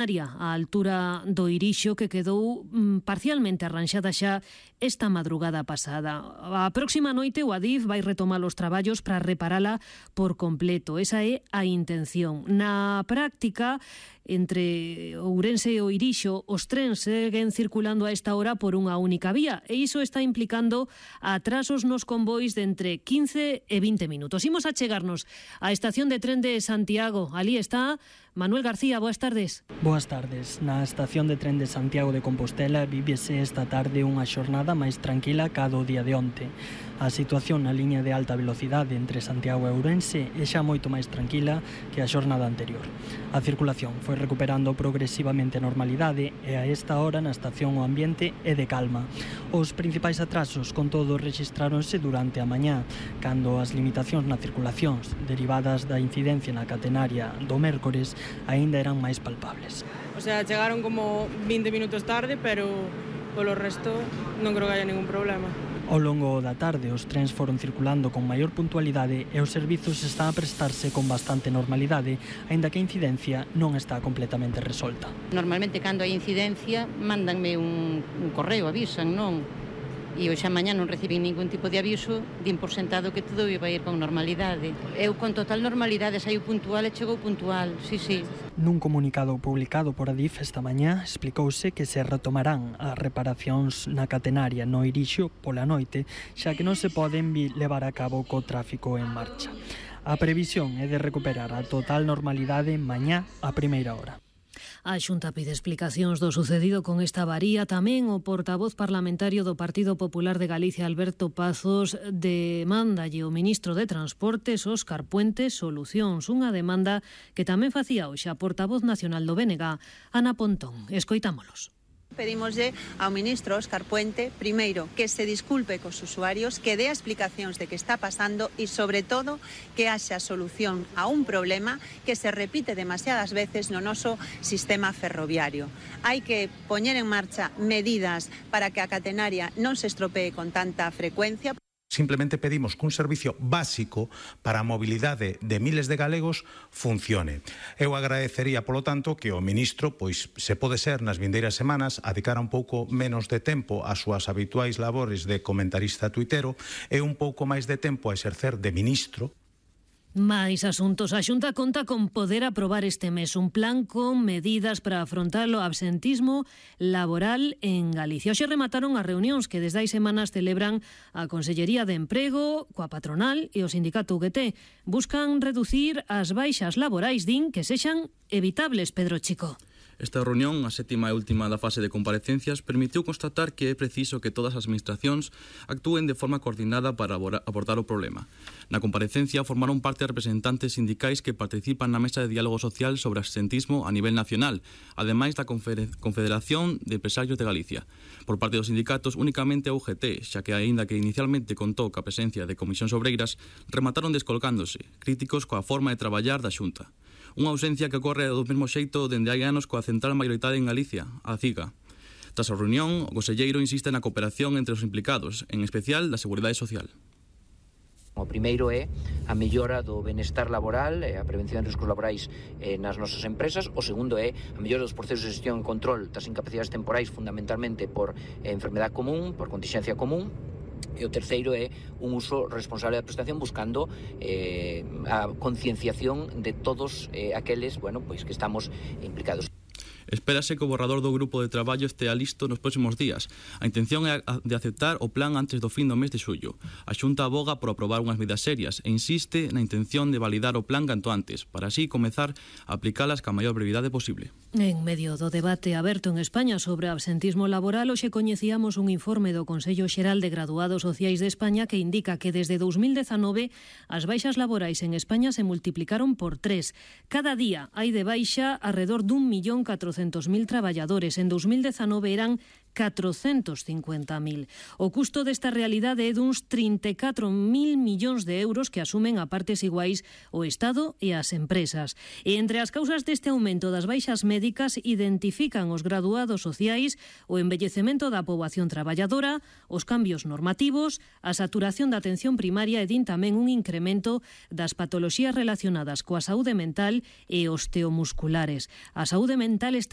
A altura do Irixo, que quedou parcialmente arranxada xa esta madrugada pasada. A próxima noite o Adif vai retomar os traballos para reparala por completo. Esa é a intención. Na práctica, entre Ourense e o Irixo, os trens seguen circulando a esta hora por unha única vía e iso está implicando atrasos nos convois de entre 15 e 20 minutos. Imos a chegarnos á estación de tren de Santiago. Ali está Manuel García, boas tardes. Boas tardes. Na estación de tren de Santiago de Compostela vívese esta tarde unha xornada máis tranquila ca do día de onte. A situación na liña de alta velocidade entre Santiago e Ourense é xa moito máis tranquila que a xornada anterior. A circulación foi recuperando progresivamente a normalidade e a esta hora na estación o ambiente é de calma. Os principais atrasos, con todo, rexistráronse durante a mañá, cando as limitacións na circulación derivadas da incidencia na catenaria do mércores aínda eran máis palpables. O sea, chegaron como 20 minutos tarde, pero polo resto non creo que haya ningún problema. Ao longo da tarde os trens foron circulando con maior puntualidade e os servizos están a prestarse con bastante normalidade, aínda que a incidencia non está completamente resolta. Normalmente cando hai incidencia mandanme un correo, avisan, non? E hoxe a mañá non recibín ningún tipo de aviso, din por sentado que todo iba a ir con normalidade. Eu con total normalidade saíu puntual e chegou puntual, sí. Nun comunicado publicado por Adif esta mañá explicouse que se retomarán as reparacións na catenaria no Irixo pola noite, xa que non se poden levar a cabo co tráfico en marcha. A previsión é de recuperar a total normalidade mañá a primeira hora. A Xunta pide explicacións do sucedido con esta avaría. Tamén o portavoz parlamentario do Partido Popular de Galicia, Alberto Pazos, demandalle o ministro de Transportes, Óscar Puente, solucións. Unha demanda que tamén facía hoxe a portavoz nacional do BNG, Ana Pontón. Escoitámolos. Pedimoslle ao ministro Óscar Puente, primeiro, que se disculpe cos usuarios, que dé explicacións de que está pasando e, sobre todo, que haxa solución a un problema que se repite demasiadas veces no noso sistema ferroviario. Hai que poñer en marcha medidas para que a catenaria non se estropee con tanta frecuencia. Simplemente pedimos que un servicio básico para a mobilidade de miles de galegos funcione. Eu agradecería, polo tanto, que o ministro, pois, se pode ser nas vindeiras semanas, adicara un pouco menos de tempo ás súas habituais labores de comentarista tuitero e un pouco máis de tempo a exercer de ministro. Mais asuntos. A Xunta conta con poder aprobar este mes un plan con medidas para afrontar o absentismo laboral en Galicia. Hoxe remataron as reunións que desde hai semanas celebran a Consellería de Emprego coa patronal e o sindicato UGT. Buscan reducir as baixas laborais, din, que sexan evitables, Pedro Chico. Esta reunión, a sétima e última da fase de comparecencias, permitiu constatar que é preciso que todas as administracións actúen de forma coordinada para abordar o problema. Na comparecencia formaron parte representantes sindicais que participan na mesa de diálogo social sobre absentismo a nivel nacional, ademais da Confederación de Empresarios de Galicia. Por parte dos sindicatos, únicamente a UGT, xa que aínda que inicialmente contou ca presencia de comisións obreiras, remataron descolocándose, críticos coa forma de traballar da Xunta. Unha ausencia que ocorre do mesmo xeito dende hai anos coa central maioritade en Galicia, a CIGA. Tras a reunión, o conselleiro insiste na cooperación entre os implicados, en especial da Seguridade Social. O primeiro é a mellora do benestar laboral e a prevención de riscos laborais nas nosas empresas. O segundo é a mellora dos procesos de gestión e control das incapacidades temporais, fundamentalmente por enfermedade común, por contingencia común. E o terceiro é un uso responsable da prestación buscando a concienciación de todos aqueles, pois que estamos implicados. Espérase que o borrador do grupo de traballo estea listo nos próximos días. A intención é de aceptar o plan antes do fin do mes de xullo. A Xunta aboga por aprobar unhas medidas serias e insiste na intención de validar o plan canto antes, para así comezar a aplicalas ca maior brevidade posible. En medio do debate aberto en España sobre absentismo laboral, hoxe coñecíamos un informe do Consello Xeral de Graduados Sociais de España que indica que desde 2019 as baixas laborais en España se multiplicaron por 3. Cada día hai de baixa alrededor dun 1.400.000 traballadores. En 2019 eran 450.000. O custo desta realidade é duns 34.000 millóns de euros que asumen a partes iguais o Estado e as empresas. E entre as causas deste aumento das baixas médicas identifican os graduados sociais, o envellecemento da poboación traballadora, os cambios normativos, a saturación da atención primaria e din tamén un incremento das patoloxías relacionadas coa saúde mental e osteomusculares. A saúde mental está